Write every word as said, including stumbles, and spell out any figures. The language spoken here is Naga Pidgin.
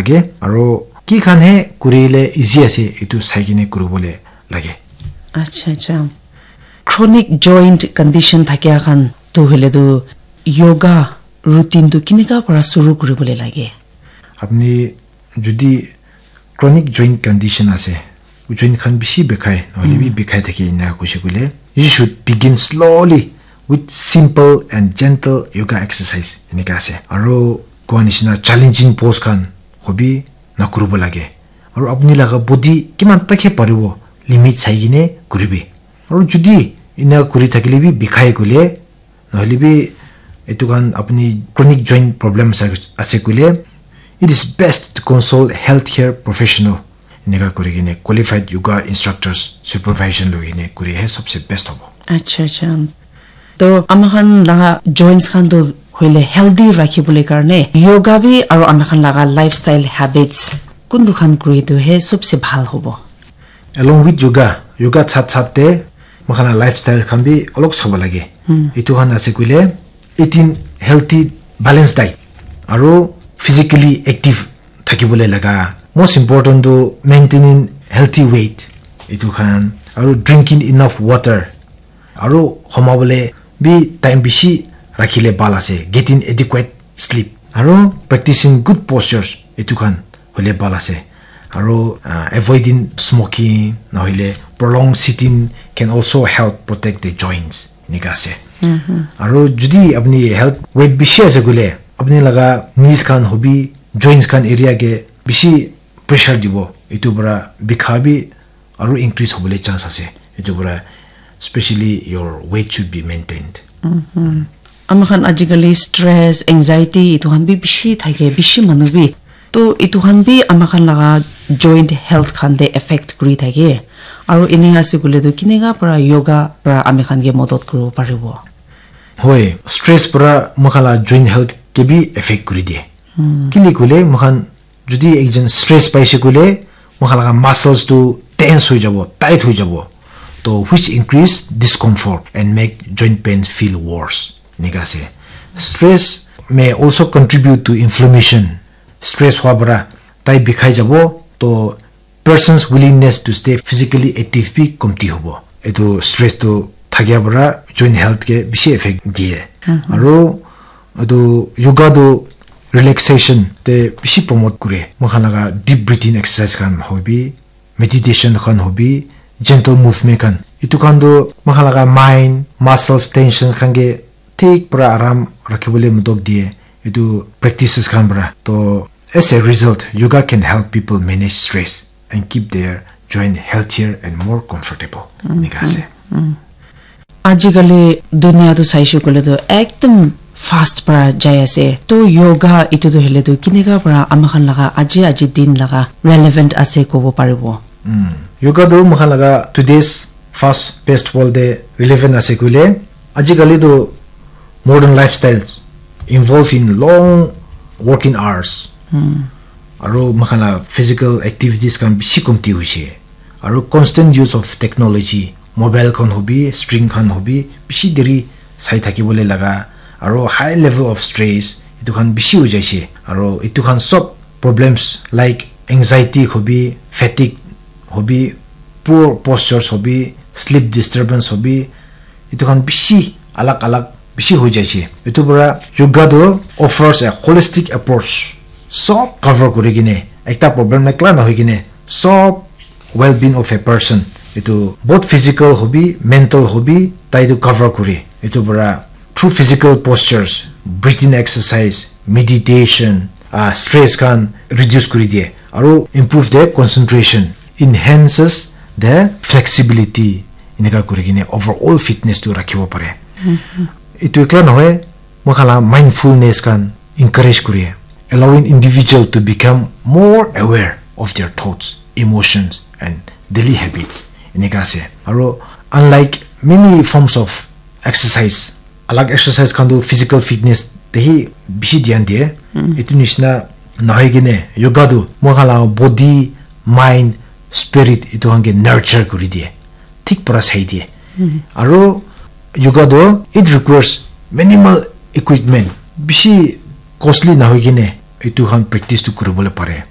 Ke aro ki khan he kurile easy ase, etu sai kene kuribole lage. Acha, acha. Chronic joint condition thakia khan tu hoile tu yoga routine tu kinika para suru kuribole lage? Apni jodi chronic joint condition ase, joint khan bishi bikhai, nohole bi bikhai thake ena kuishe koile, you should begin slowly with simple and gentle yoga exercise, enika ase. Aro koa nishina challenging pose khan hobi nakuribo lage. Aro apni laga body kiman takhe paribo, limit sai kine kuribi. Aro jodi ena kuri thakile bi bikhai koile, nohole bi etu khan apni chronic joint problem ase, ase koile, it is best to consult healthcare professional. Enika kuri kene qualified yoga instructors supervision loi kene kuri he sabse best hobo. Acha, acha. To ama khan laga joints khan to hoile healthy rakhi bole karne yoga bi aro ama khan laga lifestyle habits kuntu khan kuri tu he sabse bhal hobo. Along with yoga, yoga sat sat te moikhan la lifestyle khan bi olok sabo lage. Etu khan ase koile, eating healthy, balanced diet, aro physically active thakibole laga. Most important to maintaining healthy weight, etu khan, aro drinking enough water, aro homa bole bi time bishi rakhile bhal ase, getting adequate sleep, aro practicing good postures, etu khan hole bhal ase. Aro uh, avoiding smoking, nohole prolonged sitting can also help protect the joints, enika ase. Aro jodi apni health weight bishi ase koile, apni laga knees khan hobi, joints khan area ke bishi pressure dibo, etu para bikha bi aro increase hobole chance ase. Etu para specially your weight should be maintained. Ama khan ajikali stress, anxiety, etu khan bi bishi thake, bishi manu bi. To etu khan bi ama khan laga joint health khan te effect kuri thake. Aro ene ase koile tu kinika para yoga para ami khan ke modot kuribo paribo? Hoi, stress para moikhan la joint health ke bi effect kuri die. Kile koile moikhan jodi ekjon stress paise koile, moikhan laga muscles tu tense hoi jabo, tight hoi jabo. To which increase discomfort and make joint pain feel worse. Enika ase. Stress may also contribute to inflammation. Stress hua para tai bikhai jabo, to person's willingness to stay physically active bi komti hobo. Etu stress tu thakia para joint health ke bishi effect die. Aro etu yoga tu relaxation te bishi promote kure. Moikhan laga deep breathing exercise khan hobi, meditation khan hobi, gentle movement khan. Etu khan tu moikhan laga mind, muscles, tensions khan ke thik para aram rakhibole modot die. Etu practices khan para. To as a result, yoga can help people manage stress and keep their joint healthier and more comfortable. Enika ase. Ajikali dunia tu saishe koile tu ekdum fast para jai ase. To yoga etu tu hoile tu kinika para ama khan laga aji aji din laga relevant ase kobo paribo? Yoga tu moikhan laga today's fast paced world te relevant ase koile, ajikali tu modern lifestyles involve in long working hours. Aro moikhan la physical activities khan bishi komti hoise. Aro constant use of technology, mobile khan hobi, screen khan hobi, bishi deri sai thakibole laga, aro high level of stress, etu khan bishi hoi jaise. Aro etu khan sob problems like anxiety hobi, fatigue hobi, poor postures hobi, sleep disturbance hobi, etu khan bishi alag alag bishi hoi jaise. Etu para yoga tu offers a holistic approach. Sob cover kuri kene, ekta problem ekla na hoi kene, sob well-being of a person. Etu both physical hobi, mental hobi, tai tu cover kure. Etu para through physical postures, breathing exercise, meditation, uh, stress khan reduce kuri die. Aro improve the concentration, enhances the flexibility, enika kuri kene overall fitness tu rakhibo pare. Etu ekla nohoi, moikhan la mindfulness khan encourage kuri, allowing individual to become more aware of their thoughts, emotions and daily habits. Enika ase. Aro unlike many forms of exercise, alag exercise khan tu physical fitness te hi bishi dhyan diye. Etu nishina nahoi kene yoga tu moikhan la body, mind, spirit etu khan ke nurture kuri diye. Thik para sai diye. Aro yoga tu it requires minimal equipment, bishi costly nahoi kene etu khan practice tu kuribole pare.